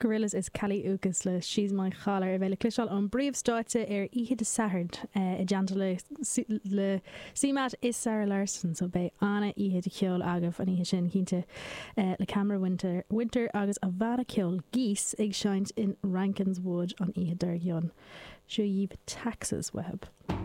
Gorillaz is Kali Uchis le She's My Caller a bheidh le cloisteáil ón bpríomhstáitse ar oíche Dé Sathairn i dteannta le le CMAT is Zara Larsson so beidh ana-oíche de cheol agaibh an oíche sin cinnte le Cameron Winter Winter agus a bhanna ceoil Geese ag seinnt in Rankine's Wood an oíche dár gcionn. Seo dhaoibh Taxes uathu.